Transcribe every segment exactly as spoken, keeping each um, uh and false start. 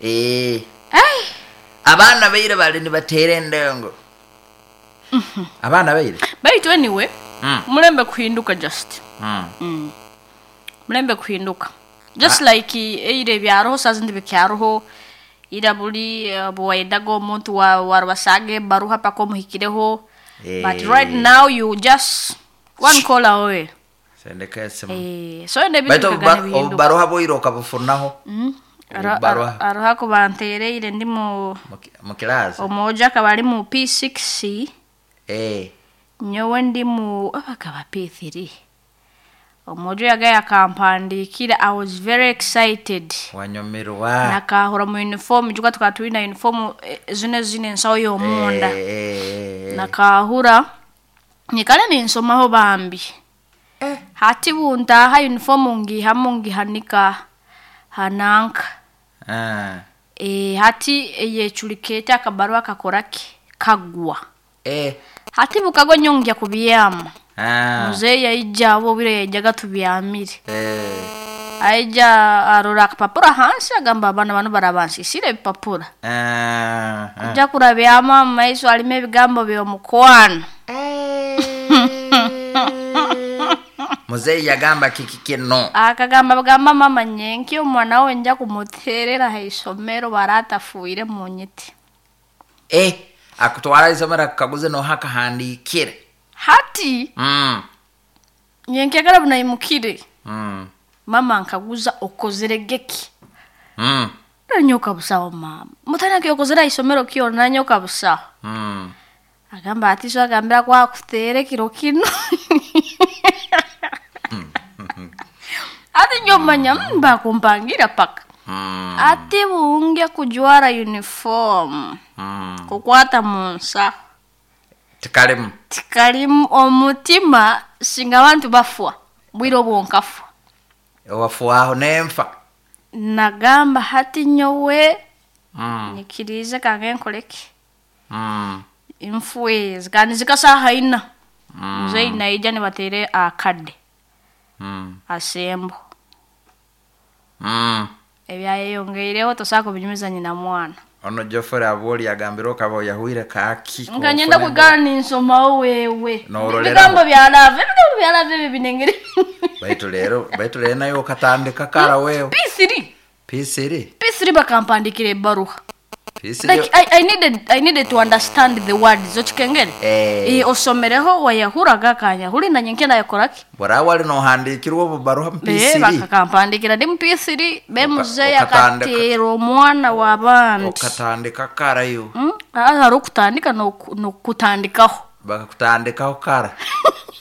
Eh. Ai. Abaana baire bali nibateera endengo, abaana baire. Baitu anyway, Mm. mulembe kuhinduka just. Mm. Mulembe kuhinduka just like eire ebyaroho sazindi bikyaroho ira buli eh, bwayendaga omuntu wa- warubasaga ebaruha paka omuhikireho, but Eh. right now you just one call away. Sendeka esimu. Eh, so ende Baitu ebintu obuba- bikagana bihinduka. obubaruha bwoire okabufunaho? Aro- Obubaruha. aro- aroho akubanteereire ndi mu Mu ki- mu kilaasi. omwojo akaba ari mu P six. Eh. Nyowe ndi mu abakaba P three. Omwojo yagaye akampandikira, I was very excited. Wanyumirwa. Nakahura mu uniform juga tukaba twine uniform, eh, zino zine ensaho y'omunda. Eh, eh, eh. Nakahura nyikale ninsomaho bambi. Eh. Hati buntaha uniform ngihamu ngihanika hananka. Ah. e, hati yecurikete akabarua kakoraki kagwa. Eh. Hati bukagwa nyongya kubyama. Ah. Muzeeyi yaija abo obwire yaijaga tubyamire. Eh. Aija arora akapapura hansi, agamba abaana bano barabansisire ebipapura. Ah. Ah. Kuja kurabyama omu maiso harimu ebigambo by'omukwano. Muzeeyi yagamba kiki kino? Akagamba bagamba mama nyenki omwana we nja kumuterera ha isomero baratafuire mu nyiti. Eh, akutwara isomero akukaguze noha akahandikire. Hati Mm. nyenki agara bunayimukire, Mm. mama nkaguza okozere geki? Mm. Nanyoka busaho mama mutanake okozere ha isomero kyona nanyoka busaho. Mm. Agamba ati so agambira kwakutere kiro kino ati nyomanya mbakumpangira paka. Mm. Ati bunge kujwara uniform, Mm. kukwata munsaho. Tikalimu. Tikalimu omutima singa abantu bafwa bwire obwo nkafwa. Wafuaho nenfa. Nagamba hati nyowe Mm. nyikirize kange nkoleki, Mm. nfwezi kandi zikasaha ina. Mm. Muzeyi naija nibatere akadde Mm. asembo. Mm. Ebyayeyongeireho tosobola kubinyumiza nyina mwana. Ono Jofore aboli agambire okaba oyahwire kaki. Nga nyenda kwigara ninsomaho wewe. Noororeraho. Ebigambo bya love, ebigambo bya love ebyo binengere. Baitu leero baitu leero naye okatandika kara wewe. P three. P three. P three bakampandikira ebbaruha. P three. Like I, I needed I needed to understand the words okikengere. Eh. Eh, osomereho wayahuraga kanyahuri nanye nkenda yakoraki. Bora wali nohandikirwa obubaruha mu Eh, P three. bakakampandikira ndi mu P three be muzeeyi Okatandika. akateera omwana w'abandi. Okatandika karayo. Mm, ah, hari okutandika n'oku- n'okutandikaho. Bakakutandikaho kara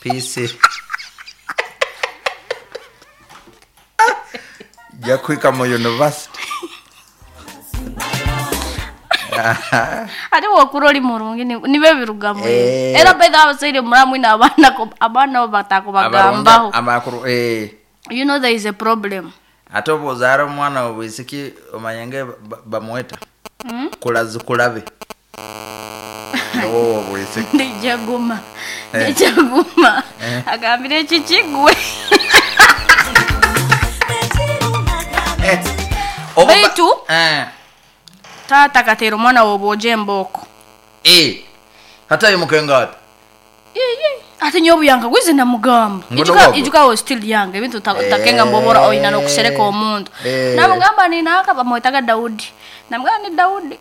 P three ja kuhika mu university. Ate wokura oli murungi ni- nibe birugamu. Eh. Era baitha abazaire muramwine abaana ko- abaana bo batakubagambaho. Amakuru eh. You know there is a problem. Ate oba ozaara omwana obwisiki omanye ba- bamweta kulazi kulabe owo obwisiki. Ndijaguma. Eh. Ndijaguma. Eh. Agambire ekikigwe. Eh, oba ba- Baitu? Eh. Taata akateera omwana w'obwojo embooko. Eh. Hata imukenga ati. Ate nyowe obuyanga gwize namugamba. Ngono Ijuka bwabwo? ijuka was still young, ebintu ta- Eh. takenga mbobora oina n'okusereka omuntu. Eh. Namugamba ninaka bamwetaga Daudi, namugamba ni Daudi.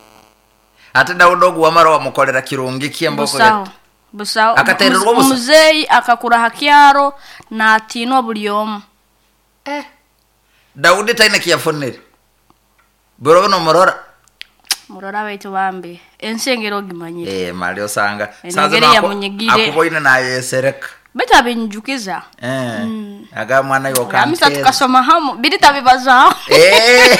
Ate Dawudi ogu wamara wamukolera kirungi kyemboko? Busaho busaho. Akateererwa Muze- busa? Muzeeyi akakura ha kyaro natiinwa buli omu. Dawudi taine kiyafunire buro nomurora. Murora baitu bambi ensi engeri ogimanyire. Eh, mali osanga Engeri yamunyigire. Akuboine nayesereka. Baitu abinjukiza. Eh. Aga mwana Amisa yokanteza. tukasoma hamu biri tabibazaho. Eh.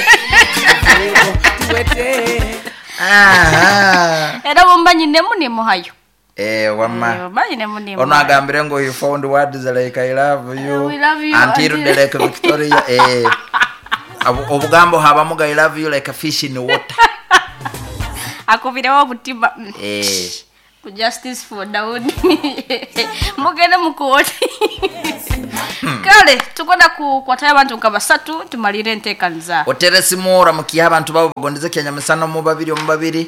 Aha. Era bomba nyinemu nimuhayo. Eh, wama. Bomba nyinemu Ono nimuhayo. agambire ngo you found words like "I love you." We love you, until until- the Lake Victoria. Eh. Obu- Obugambo habamu ga "I love you like a fish in water." Akubirewo obutima. Mm. Eh. Ku justice for Daudi mugende mukooti. Kale tukwenda kukwatayo abantu nka basatu tumalire enteekaniza. Otere simu oramukiye abantu babo bagondeze kyanyamisana mu babiri omu babiri.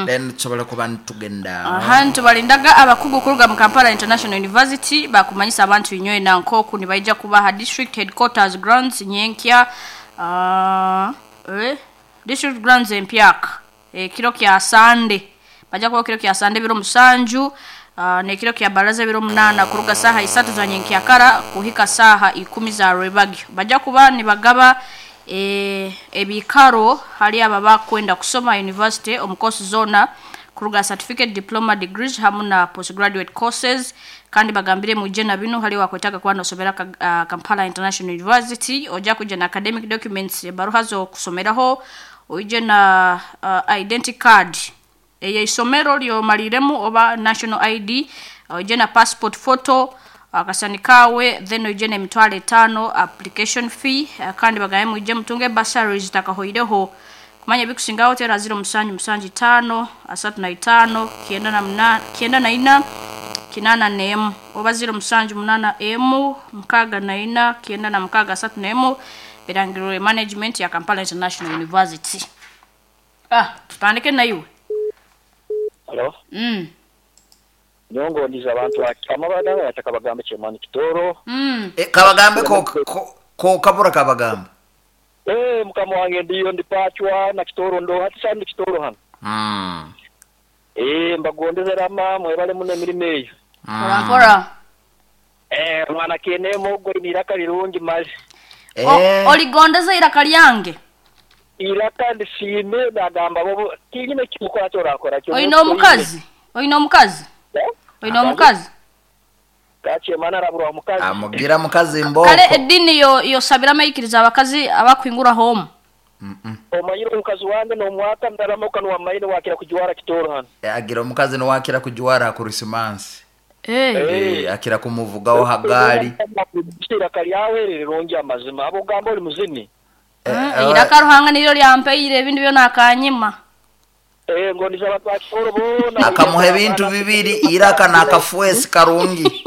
Then tusobola kuba ntugenda. Aha ntubalindaga abakugu kuruga mu Kampala International University bakumanyisa abantu inyoye na nkoku nibaija kubaha district headquarters grounds nyenkya uh, eh, district grounds empyaka ekiro kya Sunday bajja kuba kiro kya Sunday biro musanju uh, nekiro kya baraza biro munana kuruga saha isatu za nyenkya kara kuhika saha ikumi za rwebagyo bajja kuba nibagaba e, ebikaro hali aba bakwenda kusoma university omukosi zona kuruga certificate, diploma, degrees hamu na postgraduate courses. Kandi bagambire muje na bino hali wakwetaka kuba nosomera ka, uh, Kampala International University oja kuja na academic documents baruha zo kusomeraho oije na uh, identity card eye isomero lyomaliremu oba national I D oije na passport photo akasani kawe then oije na emitwalo etaano application fee. Kandi bagaye muje mutunge bursaries takahoireho kumanya bikusingaho tera zero musanju musanju tano asatu na itano kienda na mna, kienda na ina kinana nemu oba zero musanju munana emu mkaga na ina kienda na mkaga asatu na emu birangirwe management ya Kampala International University. Ah, tutandike na iwe. Hello. Mm. Nyongo ndiza abantu amabada yataka bagambe chemani kitoro. Mm. E, kabagambe ko ko, ko kabura kabagambe. Eh mukama wange ndiyo ndipachwa na kitoro ndo hati sandi kitoro hano. Mm. Eh mbagondeze rama mwebale muno emirimo eyo. Mpora mpora. Eh mwana kene mogo iraka lirungi mazi. Eh oligondeza iraka lyange. Iraka ndisime ndagamba bobo kinyine kimukora cyo rakora cyo. Oyino omukazi. Oyino omukazi. Oyino omukazi. Kache mana rabura omukazi. Amugira mukazi mboko. Kale edini yo yo sabira mayikiriza abakazi abakwingura home. Mm -mm. Omanyiro omukazi wange no mwaka ndaramuka no wamaine wakira kujuwara kitoro hano. E, agira omukazi no wakira kujuwara ku Christmas. Eh. Eh akira kumuvugaho hagali. Iraka lyawe rirungi amazima abo gamba oli muzini. Eh, iraka ruhanga niryo lyampeire ebintu byona akanyima. Eh ngo ndizaba twakitoro bona. Akamuha ebintu bibiri iraka nakafuesi karungi.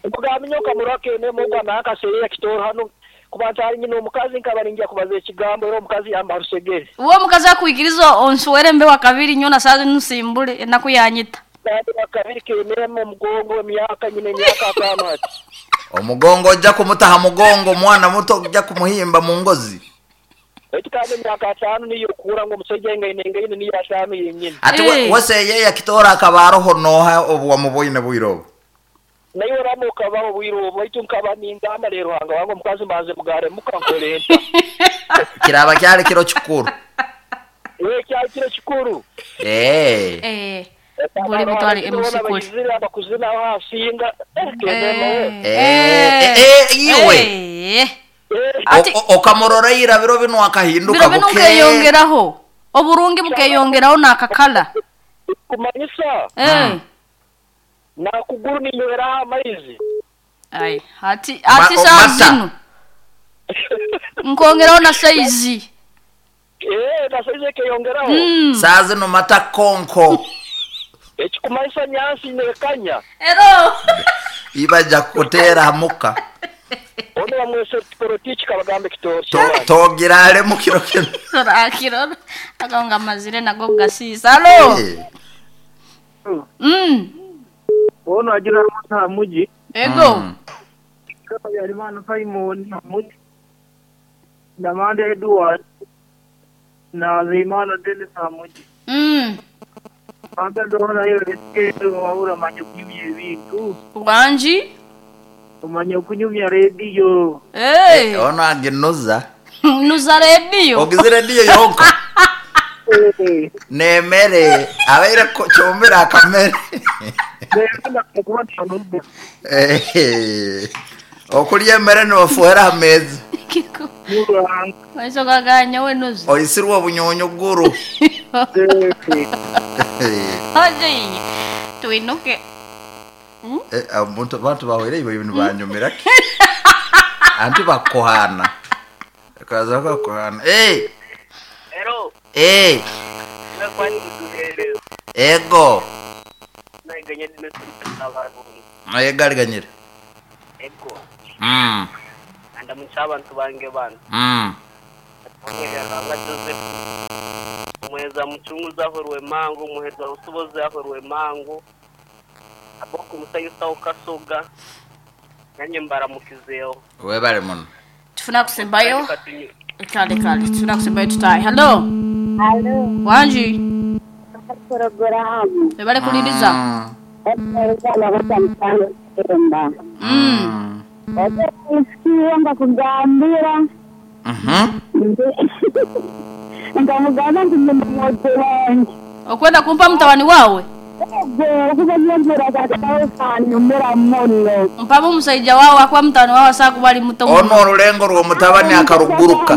Mugamenyoka murake ne mugwa nakaserera kitoro hano kubantu ari nyine omukazi nkabaringiya kubaza ekigambo era omukazi yamba rusegere. Uwo mukazi akuikiriza onsuwere mbe wakabiri nyona sazi nsimbule enaku yanyita. Kandi wakabiri kemera omugongo emyaka nyine emyaka atano ati. Omugongo ojja kumutaha mugongo mwana muto ojja kumuhimba mu ngozi. Eti kandi emyaka atano niyo kura ngo omusajja engaine engaine niyo atano yenyine. Ati hey. Wese yeye akitora akabaroho noha obu wamuboine bwiro. Nayo ramuka babo bwiro baitu nkaba ningamba rero hanga wango mukazi mbanze mugare mukankolenta. Kiraba kyali kiro kikuru. Eh kyali kiro kikuru. Eh. Eh. Buli mutwale M C kuli. Bakuzina hasinga. Eh eh iwe. Eh. Ati okamurora irabiro bino akahinduka buke. Bino bukeyongeraho. Oburungi bukeyongeraho nakakala. Kumanyisa. Eh. Na kuguru ninywera amaizi. Ai, ati ati saa zino. Nkongeraho na saizi. Eh, na saizi keyongeraho. Mm. Saa zino mata konko. Ekikumanyisa nyansi nekanya. Ero. Ibaja kutera muka. Ono wamwese politiki kabagambe kitoro. Togira ale mukiro kino. Rakiro. Akonga mazire nago gasisa. Halo. Mm. Ono agira mata muji. Ego. Mm. Yalimana Simon muji. Namande Edward na Zimana Dennis muji. Mm. Anga ndona yo ekedo wabura manye kunyumya ebintu. Wanji? Omanye kunyumya radio. Eh. Hey. Ono aginuza. Nuza radio. Ogize radio yonka. Eh. Nemere abaire chombera akamere. Eh. Okulya emere nofuhera amezi. Kiko. Maiso gaganya we nuza. Oisirwa obunyonyo guru. Oje tuinuke. Eh abantu abantu bahwere ibyo bintu banyumira. Anti bakohana. Kaza bakohana. Eh. Ero. Eh. Ego. Naye gariganyira. Ego. Mm. Andamukya abantu bange bano. Mm. Omweranga Joseph. Omweza mucunguzi aho Rwemango, omuheza rusobozi aho Rwemango. Aboko musayusa okasoga. Nanye mbaramukizeho. Webale muno. Tufuna kusembayo. Katunyu- Kale kale tufuna kusembayo tutayi. Hello. Alo, Wanji. porogaramu Webale kuliriza. Mm. ezaabatamusango kitemba Mm. isikiyo ndakugambira Mhm. nkamugamba nti ndimumwojo wange Okwenda kumpa mutabani wawe. ego okuba nyongera kakawukanyumira muno Mpamu omusajja wawe akuba mutabani wawe asakuba ali muto. Ono olulengo lw'omutabani akaruguruka.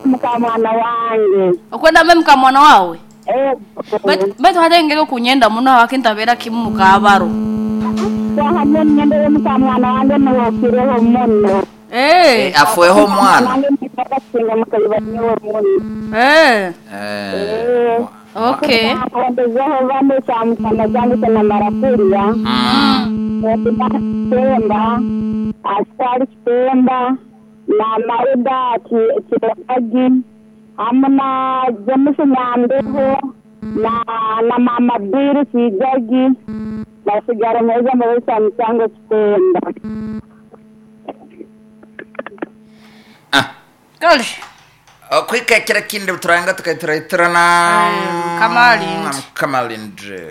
Mukamwana wange. Okwenda mbe mukamwana wawe. Ego. Baitu baitu hata engeri okunyenda muno awakintabeera kimu mukabaro. Wahamwe emyenda y'omukamwana wange niwokireho muno. Eh. Afweho omwana. Wange nikasinga mukayibanyiwe muno. Eh. Eh. Okay. Ongezeho bane kyamukama kyange kyanamara kurya. Mm. Kitemba, asitari kitemba, na Mauda Kiragi, hamwe na James Nyandeho, na na Mama Biri Kijagi, basigara mweza muri kyamusango kitemba. Ah. Kale. Okwikekera kindi turanga tukaituraitirana. Kamalindi. Kamalindi.